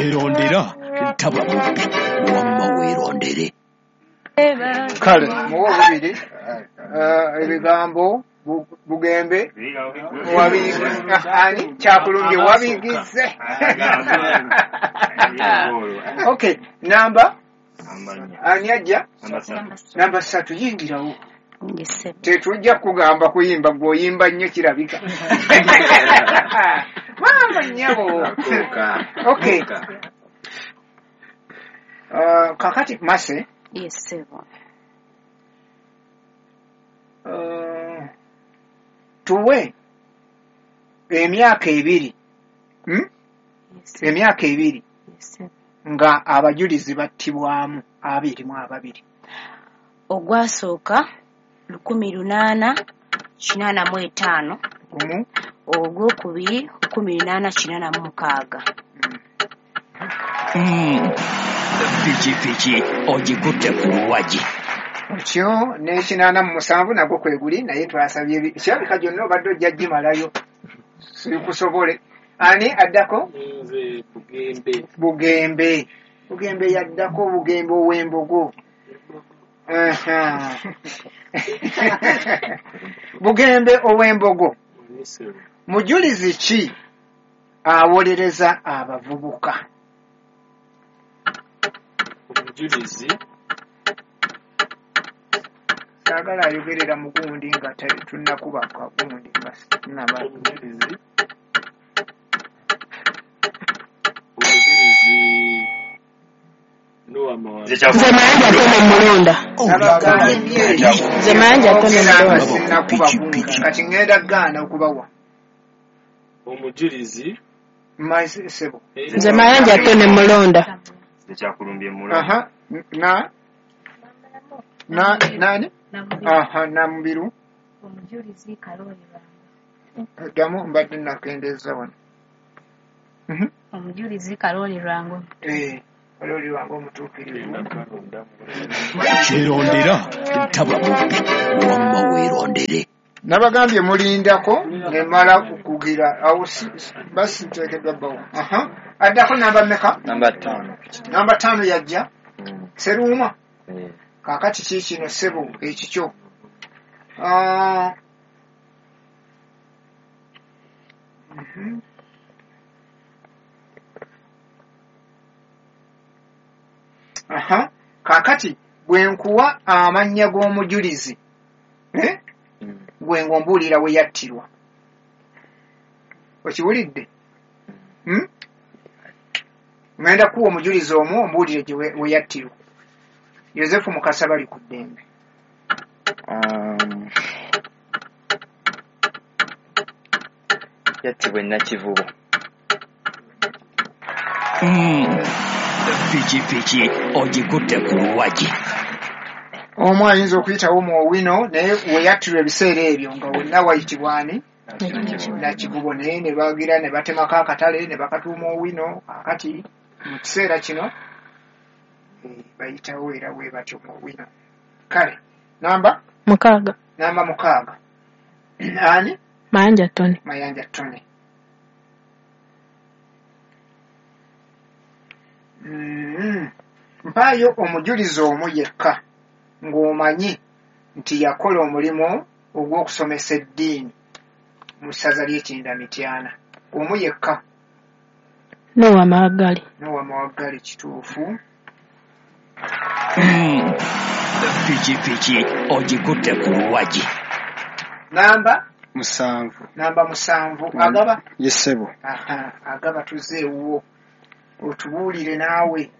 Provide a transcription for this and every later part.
Kyerondera taba mubbi, wamma weerondere. Kale muwe obubiri ebigambo Bugembe ani Kyakulumbye wabigize. Okay, namba ani ajja? Namba 3 yingirawo. Tetujja kugamba kuyimba, gw'oyimba nnyo kirabika. Mama nnyabo. Okay. Kakati Mase. Yes, sir. Tuwe emyaka 2. Emyaka 2 nga abajulizi battibwamu 22. Ogwasooka 1885, ogwokubiri 1886. Pikipiki ogikutte ku luwagi. Otyo n'87 nagwo kwe guli, naye twasabye kirabika gyonna obadde ojja gimalayo sikusobole. Ani addako? Nze Bugembe. Bugembe. Bugembe yaddako, Bugembe ow'embogo. Bugembe ow'embogo. Mujulizi ki awolereza abavubuka? Omujulizi saagala ayogerera mugundi nga tunnakuba kagundi nga naba. Omujulizi Nze Mayanja Tone Mulonda. Nze Mayanja Tone Mulonda. Kati ngenda gaana okubawa. Omujulizi Sebo. Nze Mayanja Tone Mulonda. Kyakulumbye Mulonda. Aha, na na nani? Aha, Namubiru. Omujulizi Kaloli Lwango. Ddamu mbadde nakendeeza wano. Omujulizi Kaloli Lwango. Kaloli Lwango omutuukirivu. Kyerondera taba mubbi, wamma weerondere. Nabagambye mulindako ne mmala kukugira awo basi nteekeddwa bbawo. Aha. Addako namba mmeka? Namba 5. Namba 5 yajja. Seruuma. Kaakati ki kino ssebo ekikyo? Aha. Kaakati bwe nkuwa amannya g'omujulizi, gwe ng'ombuulira we yattirwa. Okiwulidde? Ngenda kuwa omujulizi omu ombuulire gye we yattirwa. Yosefu Mukasa bali ku ddembe. Yattibwa e Nakivubo. Pikipiki ogikutte ku luwagi. Omu ayinza okuyitawo mu Owino, naye we yattirwa ebiseera ebyo nga wonna wayitibwa ani? Nakivubo, naye ne bagira ne batemako akatale ne bakatuuma Owino. Kaakati mu kiseera kino bayitawo era bwe batyo mu Owino. Kale namba 6. Namba 6. Ani? Mayanja Tone. Mayanja Tone. Mpaayo omujulizi omu yekka ng'omanyi nti yakola omulimu ogw'okusomesa eddiini mu ssaza ly'Ekinda Mityana. Omu yekka. Nowa Mawaggali. Nowa Mawaggali kituufu. Pikipiki ogikutte ku luwagi. Namba 7. Namba 7. Agaba? Yesebo. Aha, agaba tuzze ewuwo otubuulire naawe.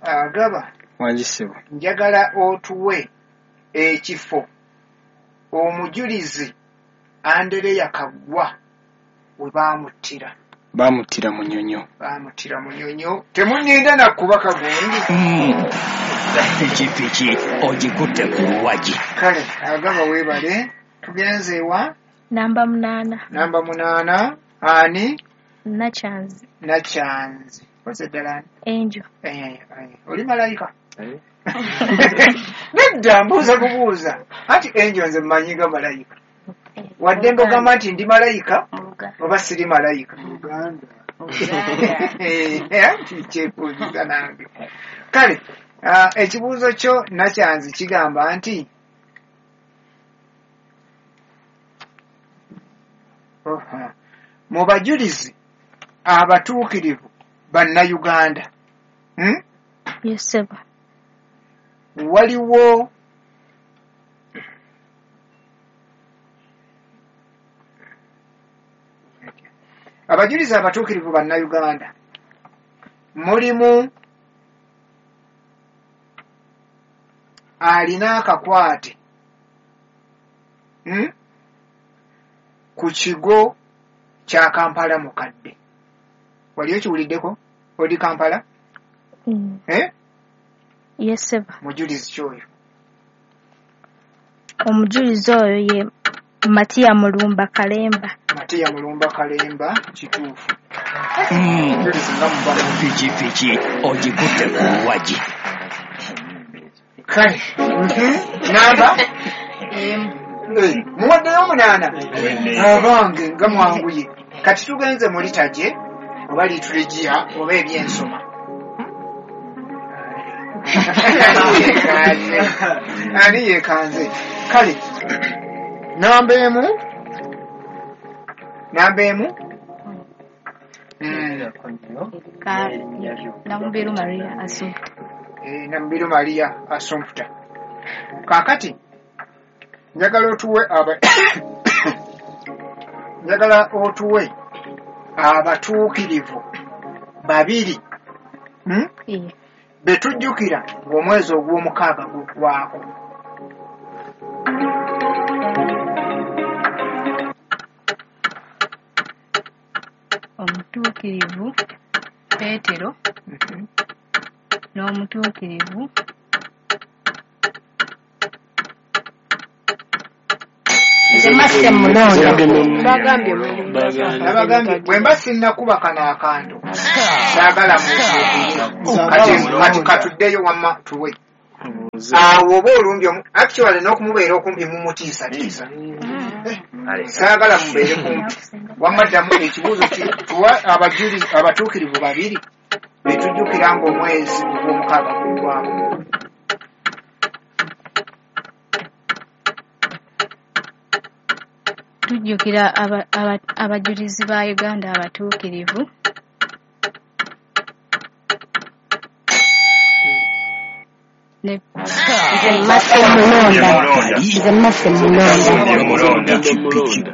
Agaba. Wangi ssebo. Njagala otuwe ekifo omujulizi Andereya Kaggwa we baamuttira. Baamuttira Munyonyo. Baamuttira Munyonyo. Temunninda nakuba kagundi. Pikipiki ogikutte ku luwagi. Kale agaba weebale. Tugenze wa? Namba 8. Namba 8. Ani? Nakyanzi. Nakyanzi. Koze ddala ani? Angel. Oli malayika? Nedda mbuuza kubuuza. Anti Angel nze mmanyi nga malayika. Waddembe ogamba nti ndi malayika Mu Luganda. oba siri malayika. Luganda. Mu Luganda. Nti kyekuuziza nange. Kale ekibuuzo kyo Nakyanzi kigamba nti Oha. Mu bajulizi abatuukirivu bannayuganda, Yes, ssebo. Waliwo abajulizi abatuukirivu bannayuganda mulimu alina akakwate ku kigo kya Kampala mukadde. Wali okiwuliddeko odi Kampala? Eh? Yes, ssebo. Mujulizi kyoyo. Omujulizi oyo ye Matiya Mulumba Kalemba. Matiya Mulumba Kalemba, kituufu. Mujulizi nga muba. Pikipiki ogikutte ku luwagi. Kale. Namba? Muwaddeyo 8. Abange nga mwanguye. Kati tugenze mu litaje oba lituligiya oba ebyensoma. Ani yeekanze? Kale namba emu. Namba emu. Namubiru Maria Assumpta. Namubiru Maria Assumpta. Kaakati njagala otuwe njagala otuwe abatuukirivu babiri be tujjukira ng'omwezi ogw'omukaaga guggwako. Omutuukirivu Peetero n'omutuukirivu Nze Masse Mulonda. Nabagambye bwe mba sinnakuba kano akantu saagala muzuukire. Kati katuddeyo wamma tuwe. Awo oba olumbye actually n'okumubeera okumpi mumutiisatiisa. Saagala mubeere kumpi. Wamma ddamu ekibuuzo tuwa abajulizi abatuukirivu babiri be tujjukira ng'omwezi ogw'omukaaga guggwako. Tujjukira abajulizi ba Uganda abatuukirivu. Nze Masse Mulonda. Nze Masse Mulonda. Mulonda.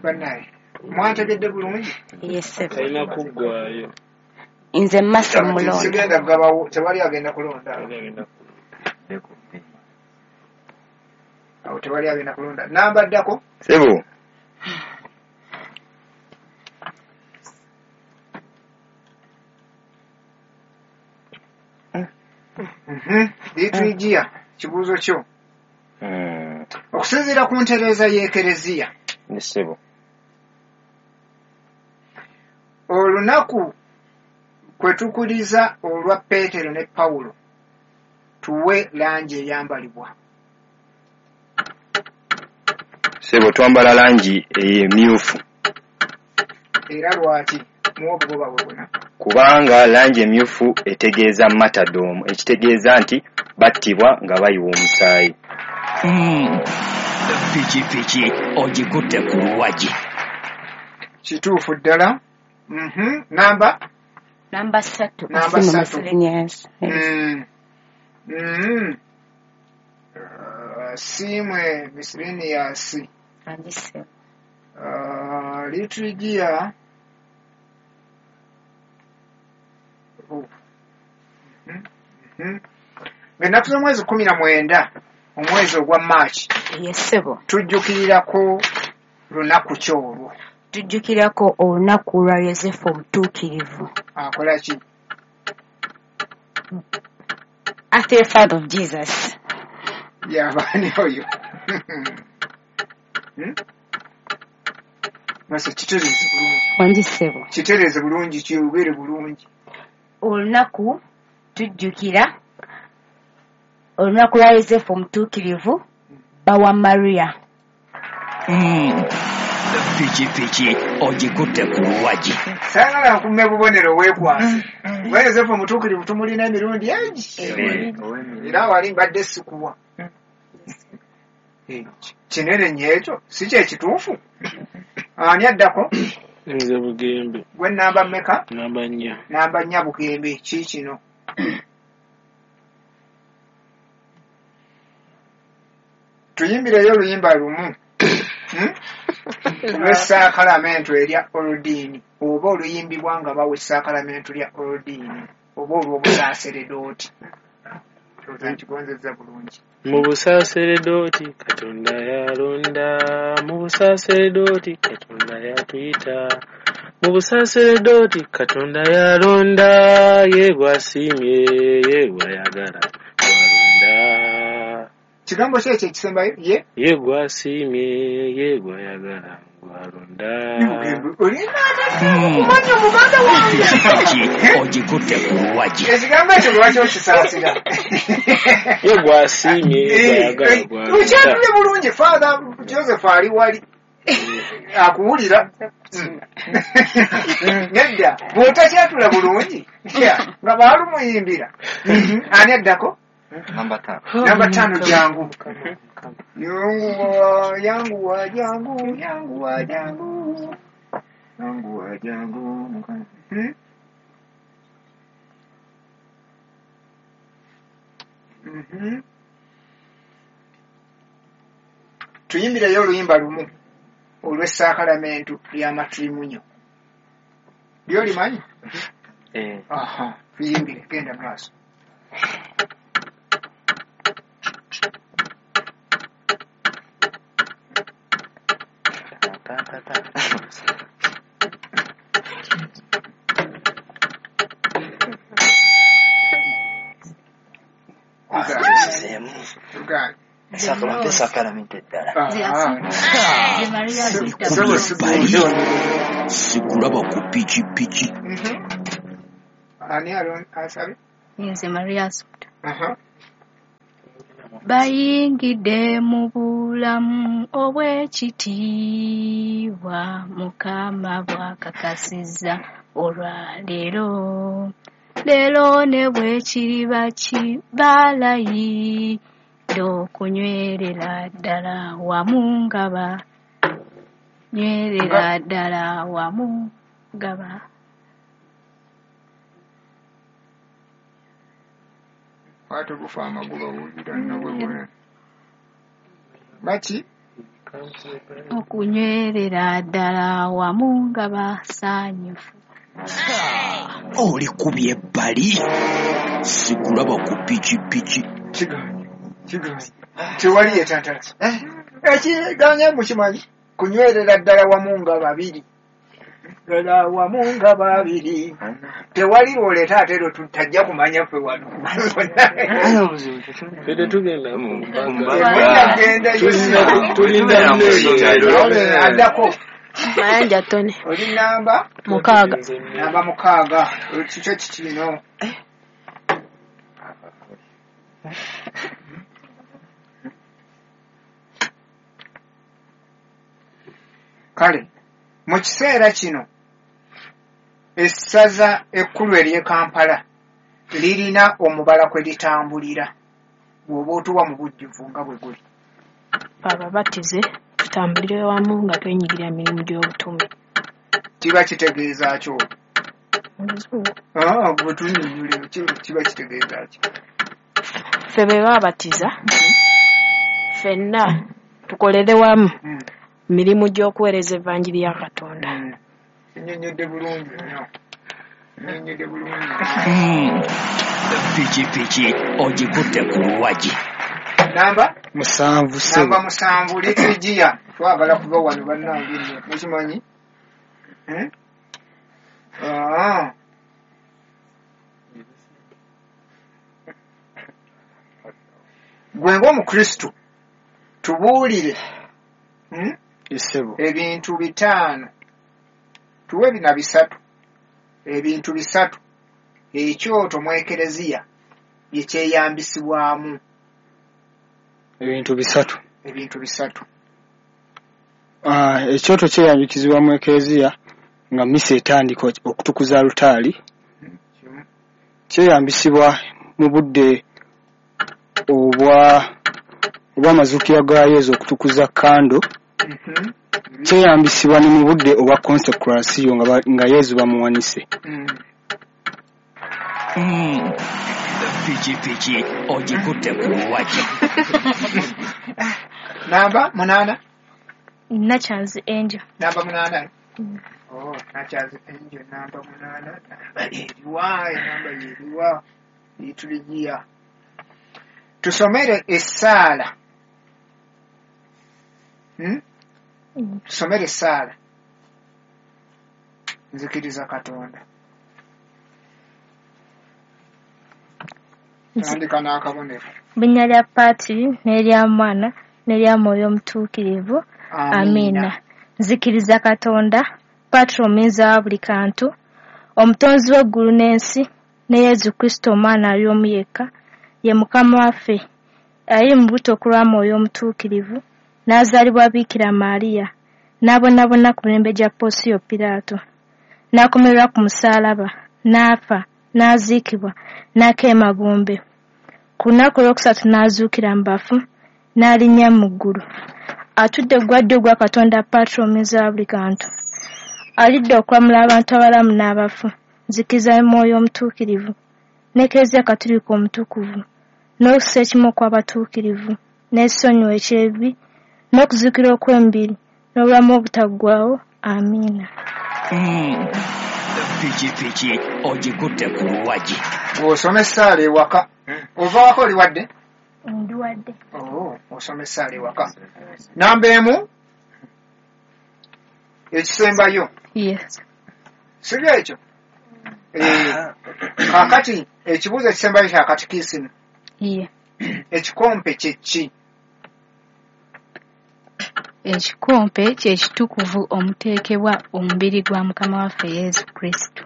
Bannaye mwantegedde bulungi? Yes, ssebo. Talina kuggwaayo. Nze Masse Mulonda. Sigenda kugabawo, tewali agenda kulonda. Awo tewali agenda kulonda. Namba ddako? Ssebo. Liturgiya, kibuuzo kyo. Okusinziira ku ntereeza y'Ekereziya. Ssebo. Olunaku kwe tukuliza olwa Peetero ne Pawulo tuwe langi eyambalibwa. Ssebo twambala langi emyufu. Era lwaki? Muwe obugoba bwe buna. Kubanga langi emyufu etegeeza martyrdom, ekitegeeza nti battibwa nga bayiwa omusaayi. Pikipiki ogikutte ku luwagi. Kituufu ddala. Namba? Namba 3. Namba 3. Yes. Siimwe miscellaneous. Angi ssebo. Liturgiya. Ng'ennaku z'omwezi 19 omwezi ogwa March. Yes, ssebo. Tujjukirirako lunaku ki olwo? Tujjukirako olunaku lwa Yosefu omutuukirivu. Akola ki? After the father of Jesus. Yabaani oyo? Mase kitereeze bulungi. Wangi ssebo. Kitereeze bulungi, kyogere bulungi. Olunaku tujjukira olunaku lwa Yosefu omutuukirivu bba wa Maria. Pikipiki ogikutte ku luwagi. Saagala nkumme bubonero weekwase. Kuba Yosefu omutuukirivu tumulina emirundi egi. Era wali mbadde sikuwa. Kinene nnyo ekyo, si kye kituufu? Ani addako? Nze Bugembe. Gwe namba mmeka? Namba 4. Namba 4 Bugembe, ki kino? Tuyimbireyo oluyimba lumu. Olw'essaakalamentu erya Oludiini oba oluyimbibwa nga bawa essaakalamentu lya Oludiini oba olw'obusaaseredooti. Ndowooza nkigonzezza bulungi. Mu busaaseredooti Katonda yalonda, mu busaaseredooti Katonda yatuyita, mu busaaseredooti Katonda yalonda, ye gw'asiimye, ye gw'ayagala, gw'alonda. Kigambo ki ekyo ekisembayo? Ye? Ye gw'asiimye, ye gw'ayagala, gw'alonda. Olina kumanya omuganda wange. Pikipiki ogikutte ku luwagi. Ekigambo ekyo lwaki okisaasira? Ye gw'asiimye, ye gw'ayagala, gw'alonda. Okyatule bulungi, Father Joseph ali wali akuwulira. Nedda, bw'otakyatula bulungi nga baalumuyimbira. Ani addako? Namba 5. Namba 5 jangu. Yanguwa, yanguwa, jangu, yanguwa, jangu. Yanguwa, jangu. Tuyimbireyo oluyimba lumu olw'essaakalamentu ly'amatirimunyo. Ly'olimanyi? Aha, tuyimbire, genda maaso. Sakalamento eddala. Sikulaba ku pikipiki. Ani asabye? Nze Maria Assumpta. Bayingidde mu bulamu obw'ekitiibwa Mukama bw'akakasizza olwaleero. Leero ne bwe kiriba kibalayidde okunywerera ddala wamu nga banywerera ddala wamu nga ba. Kwata ogufa amagoba wulira nno bwe bwe. Baki? Okunywerera ddala wamu nga basanyufu. Oli kubye ebbali. Sikulaba ku pikipiki. Kigaanye. Kigaanye. Tewali yeetantala. Ekiganye mukimanyi. Kunywerera ddala wamu nga babiri. Ddala wamu nga babiri. Tewali lwoleeta ate lwe tutajja kumanya ffe wano. Ffe tetugenda mu mbaga. Tulinda addako. Mayanja Tony. Oli namba? 6. Namba 6. Kikyo kikino. Kale, mu kiseera kino essaza ekkulu ery'e Kampala lirina omubala kwe litambulira bw'oba otuwa mu bujjuvu nga bwe guli. Ababatize tutambulire wamu nga twenyigira mirimu gy'obutume. Kiba kitegeeza ki olwo? Mu Luzungu. Gwe tunnyonnyole kiba kitegeeza ki? Ffe be baabatiza ffenna tukolere wamu mirimu gy'okuweereza evanjiri ya Katonda. Kinnyonnyodde bulungi nnyo. Kinnyonnyodde bulungi. Pikipiki ogikutte ku luwagi. Namba? 7. Namba 7 liturgiya. Twagala kuva wano bannange nno. Mukimanyi? Gwe ng'Omukristu tubuulire ebintu 5 tuwe bina 3 ebintu 3 ekyoto mu ekereziya bye kyeyambisibwamu. Ebintu 3. Ebintu 3. Ekyoto kyeyambisibwa mu ekereziya nga mmisa etandika okutukuza alutaari. Kimu. Kyeyambisibwa mu budde obw'amazuukira ga Yezu okutukuza kando. Kyeyambisibwa ne mu budde obwa konsekurasiyo nga Yezu bamuwanise. Pikipiki ogikutte ku luwagi. Namba 8. Nakyanzi Angel. Namba 8. Oh, Nakyanzi Angel namba 8. Namba eriwa? Enamba yeriwa? Lituligiya. Tusomere essaala. Tusomere essaala. Nzikiriza Katonda. Tandika n'akabonero. Mu linnya lya Patri n'erya Mwana n'erya Mwoyo Omutuukirivu. Amiina. Nzikiriza Katonda, Patri omuyinza wa buli kantu, omutonzi w'eggulu n'ensi, ne Yezu Kristo Omwana ali omu yekka, ye Mukama waffe, ali mu buto ku lwa Mwoyo Omutuukirivu, n'azaalibwa Biikira Maria, n'abonaabona ku mirembe gya Ponsiyo Piraato, n'akomererwa ku musaalaba, n'afa, n'aziikibwa, n'akka emagombe. Ku lunaku olwokusatu n'azuukira mu bafu, n'alinnya mu ggulu. Atudde ku gwa ddyo ogwa Katonda Patri omuyinza wa buli kantu. Alidde okulamula abantu abalamu n'abafu. Nzikiriza Mwoyo Omutuukirivu, n'Ekereziya Katolika Omutukuvu, n'okussa ekimu okw'abatuukirivu, n'ekisonyiwo eky'ebibi, n'okuzuukira okw'emibiri, n'obulamu obutaggwaawo. Amiina. Pikipiki ogikutte ku luwagi. Osoma essaala ewaka. Ova waka oli wadde? Ndi wadde. Oh, osoma essaala ewaka. Namba 1 ekisembayo. Yes. Sibyo ekyo? Kaakati ekibuuzo ekisembayo kya katikisimu. Ye. Ekikompe kye ki? Ekikompe kye kitukuvu omuteekebwa omubiri gwa Mukama waffe Yezu Kristo.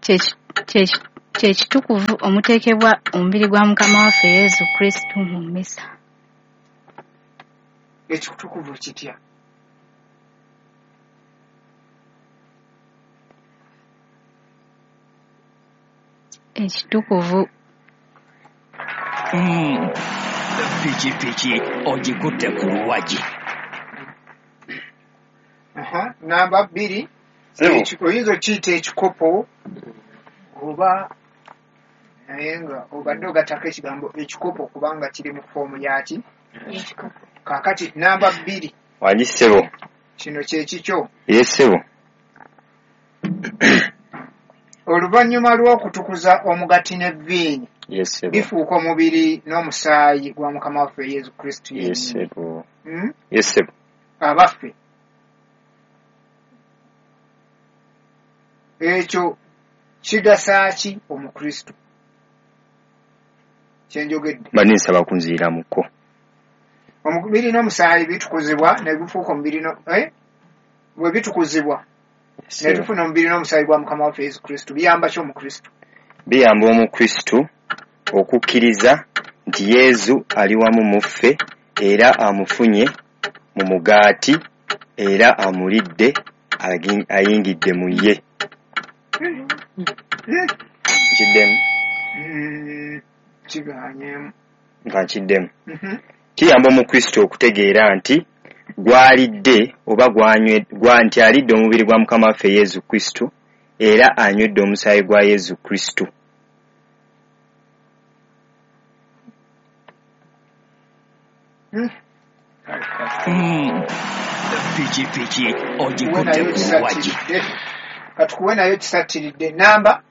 Kye kitukuvu omuteekebwa omubiri gwa Mukama waffe Yezu Kristo mu mmisa. Ekitukuvu kitya? Ekitukuvu. Pikipiki ogikutte ku luwagi. Namba 2. Oyinza okiyita ekikopo oba naye nga obadde ogattako ekigambo ekikopo kubanga kiri mu foomu yaki. Kaakati namba 2. Wangi ssebo. Kino kye kikyo. Ye ssebo. Oluvannyuma lw'okutukuza omugaati n'evviini, bifuuka omubiri n'omusaayi gwa Mukama waffe Yezu Kristo yennyini. Ye ssebo. Abaffe, ekyo kigasa ki Omukristo? Kye njogedde. Mbadde nsaba kunziramuko. Omubiri n'omusaayi bitukuzibwa ne bifuuka omubiri bwe bitukuzibwa ne tufuna omubiri n'omusaayi gwa Mukama waffe Yezu Kristo, biyamba ki Omukristo? Biyamba Omukristo okukkiriza nti Yezu ali wamu mu ffe era amufunye mu mugaati era amulidde ayingidde mu ye. Nkiddemu. Kigaanyeemu. Nga nkiddemu. Kiyamba Omukristo okutegeera nti gwalidde oba nti alidde omubiri gwa Mukama waffe Yezu Kristo era anywedde omusaayi gwa Yezu Kristo. Pikipiki ogikutte ku luwagi. Katukuwe nayo kisattiridde. Namba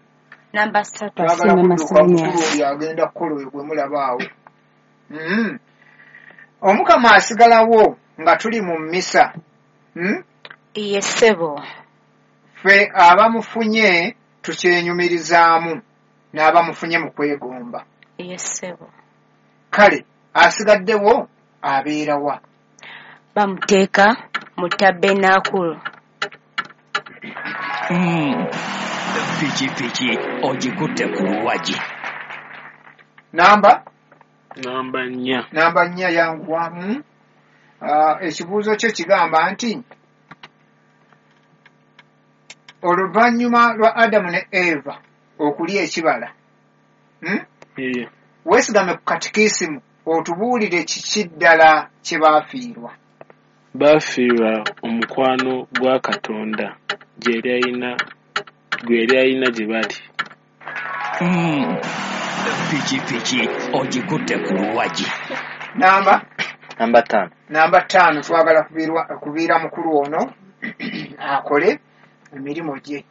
3. Twagala kudduka mukulu oyo agenda kukola oyo gwe mulaba awo. Omukama asigalawo nga tuli mu mmisa. Ye ssebo. Ffe abamufunye tukyenyumirizaamu n'abamufunye mu kwegomba. Ye ssebo. Kale asigaddewo abeera wa? Bamuteeka mu tabenaakulu. Pikipiki ogikutte ku luwagi. Namba Namba 4. Namba 4 yanguwamu. Ekibuuzo kyo kigamba nti oluvannyuma lwa Adamu ne Eva okulya ekibala, weesigame ku katikisimu otubuulire kiki ddala kye baafiirwa. Baafiirwa omukwano gwa Katonda gwe yali alina gye bali. Pikipiki ogikutte ku luwagi. Namba 5. Namba 5 twagala kubiira mukulu ono akole emirimu gye.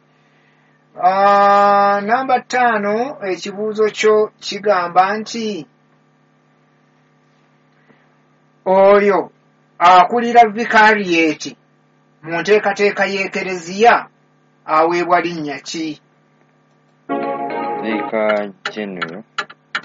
Namba 5 ekibuuzo kyo kigamba nti oyo akulira vikariyeeti mu nteekateeka y'Ekereziya aweebwa linnya ki? Vicar General.